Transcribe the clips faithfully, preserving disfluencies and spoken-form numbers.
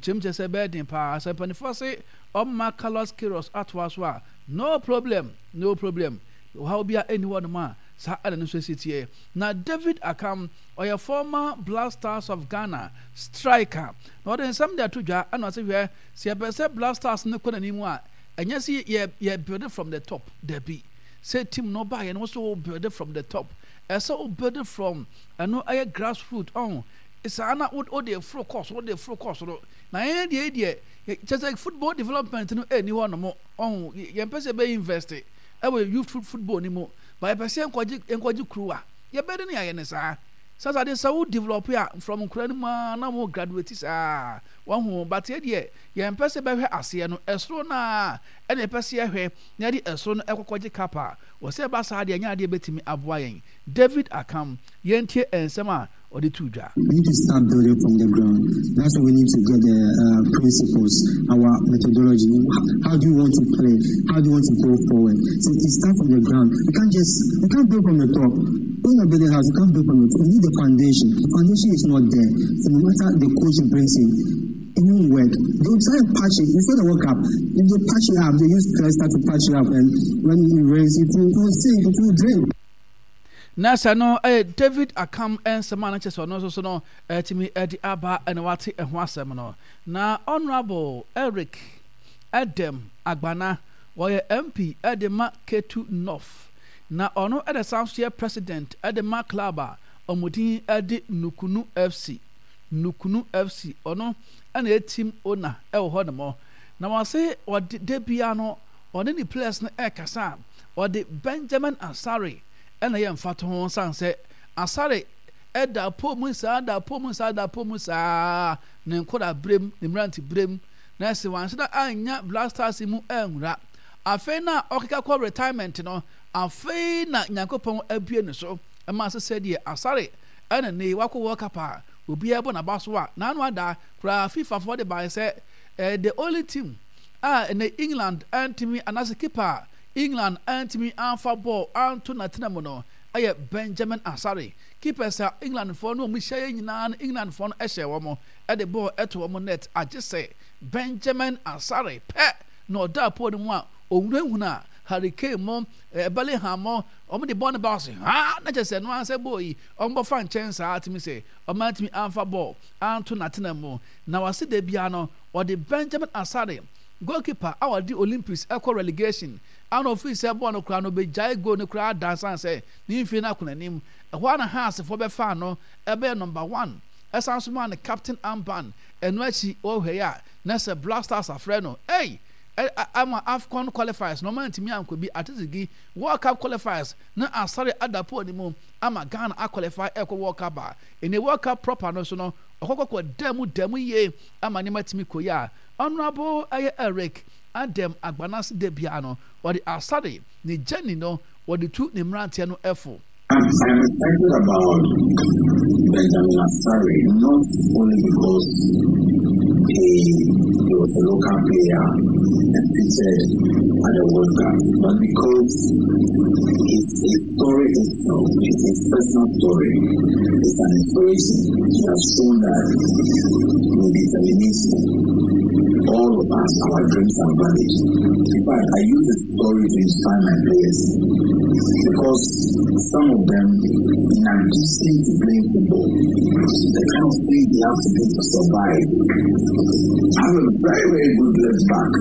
Ɔkyerɛ mu kyerɛ sɛ ɛbɛyɛ den paa sɛ mpanimfoɔ se ɔmma Carlos Queiroz atoa so a, no problem, no problem. Ɔhaw bi a ɛnni hɔnom a saa ɛna no nso si teɛ. Na David Akam, ɔyɛ former Black Stars of Ghana striker, na ɔde nsɛm de ato dwa ɛna ɔsɛ, hwɛ, sɛ yɛpɛ sɛ Black Stars no kɔ n'anim a, ɛnyɛ sɛ yɛ yɛ build from the top. Dabi, sɛ team no baayɛ no, wɔsɛ wo build from the top, ɛsɛ wo build from ɛno ɛyɛ grassroot ɔn saa na wo de foro kɔ soro, de foro kɔ soro. Na yɛn deɛ deɛ kyɛ sɛ football development no ɛni hɔ nom ɔn yɛn pɛ sɛ yɛbɛ invest ɛwɔ youth football ni mu ba, yɛpɛ sɛ nkɔgye nkɔgye kuruwa. Yɛbɛde ne yɛayɛ ne saa sasa de sɛ wo develop a from nkura no mu a na mo graduate saa wɔn ho, but yɛ deɛ yɛn pɛ sɛ bɛhwɛ aseɛ no, ɛsoro naa ɛna yɛpɛ sɛ yɛhwɛ na yɛde ɛsoro no ɛkɔkɔgye cup a wɔsɛ ɛba saa deɛ, ɛnyɛ adeɛ bɛtumi aboa yɛn. David Akam, yɛntie nsɛm a ɔde to dwa. We need to start building from the ground. That's why we need to get the uh, principles, our methodology. How do you want to play? How do you want to go forward? So you start from the ground. You can't just you can't build from the top. When you're building a house, you can't build from the top. You need the foundation. The foundation is not there. So no matter the coach brings in, it won't work. They will try and patch it. Before the World Cup, if they patch it up, they use plaster to patch it up, and when it rains, it will, it will sink, it will drain. Na sɛ no ɛyɛ David Akam nsɛm a no kyɛ sɛ ɔno nso so no ɛtumi ɛde aba ɛna wate ɛho asɛm no. Na Honourable Eric Edem Agbana, wɔyɛ M P ɛde ma Ketu North, na ɔno ɛde san so yɛ president ɛde ma club a ɔmo din ɛde Nukunu F C. Nukunu F C, ɔno ɛna yɛ team owner ɛwɔ hɔ nom. Na wɔse ɔde de bia no ɔne ne players no ɛrekasa a, ɔde Benjamin Asare ɛna yɛ mfato ho san sɛ Asare ɛda po mu saa, da po mu saa, da po mu saa ne nkɔda berem, ne mmerante berem, na ɛsɛ wanhyɛ da anya Black Stars mu ɛnwura. Afei na ɔkeka kɔ retirement no, afei na Nyankopɔn abue ne so ɛma sɛ sɛdeɛ Asare ɛna ne wakɔ World Cup a obiara bɔ n'aba so a n'ano ada koraa. FIFA foɔ de baeɛ sɛ ɛɛ the only team a ɛnɛ England ɛntumi anaasɛ keeper a England ɛntumi amfa bɔɔl anto n'atena mu no ɛyɛ Benjamin Asare. Keepers a Englandfoɔ no wɔn hyia yɛ nyinaa no, Englandfoɔ no ɛhyɛ wɔn ɛde bɔɔl ɛto wɔn net, agye sɛ Benjamin Asare pɛ na ɔda pole no mu a owurahuna a Harry Kane mo, ɛɛ Bellingham mo, wɔn de bɔɔl no ba ɔse ha na kyerɛ sɛ no ansɛ bɔɔl yi wɔn bɔfa nkyɛn saa tumi sɛ wɔn antumi amfa bɔɔl anto n'atena mu. Na wase da bia no ɔde Benjamin Asare, goalkeeper a ɔde Olympics ɛkɔ relegation ana ofiri sɛ bɔɔl no koraa no obɛgyae goal no koraa dansan sɛ ne mfie no akɔ n'anim. Ɛhɔ ana Heartsfoɔ bɛfa no ɛbɛyɛ number one, ɛsan so maa no captain armband. Ɛno akyi wɔhwɛ yi a na sɛ Black Stars afrɛ no ɛy ama AFCON qualifiers na ɔma ntumi ankɔ bi atesigi World Cup qualifiers na Asare ada pole no mu ama Ghana aqualify ɛkɔ World Cup a ɛne World Cup proper no so no ɔkɔkɔkɔ da mu da mu yie ama nneɛma tumi kɔ yi a, Honourable ɛyɛ Eric Adam Agbanase, da bia no wɔde Asare ne journey no wɔde tu ne mmeranteɛ no ɛfo. I'm excited about Benjamin Asare, not only because he, he was a local player and featured at the World Cup, but because his, his story itself, his, his personal story, is an inspiration. He has shown that with determination, all of us, our dreams are valid. In fact, I use the story to inspire my players because some of them, in addition to playing football, the kind of things they have to do to survive. I have a very, very good left back.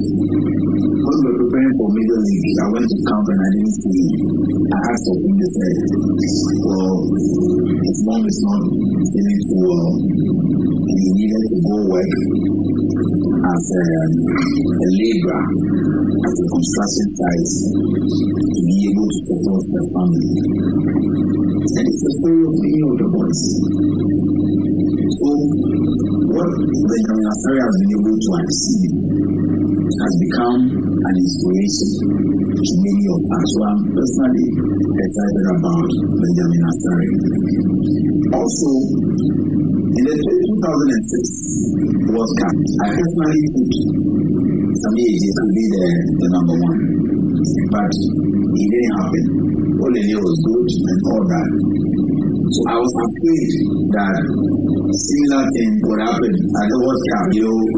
When we were preparing for Major League, I went to camp and I didn't see him. I asked of him, they said, well, his mom is not feeling too well and he needed to go work as a, a laborer at a construction site to be able to support the family. And it's the story of many of the boys. So what Benjamin Asare has been able to achieve has become an inspiration to many of us. So I'm personally excited about Benjamin Asare. Also, in the two thousand six World Cup, I personally took Sammy Adjei to be the, the number one. But it didn't happen. Olele was good and all that. So I was afraid that similar thing would happen at the World Cup. You know, with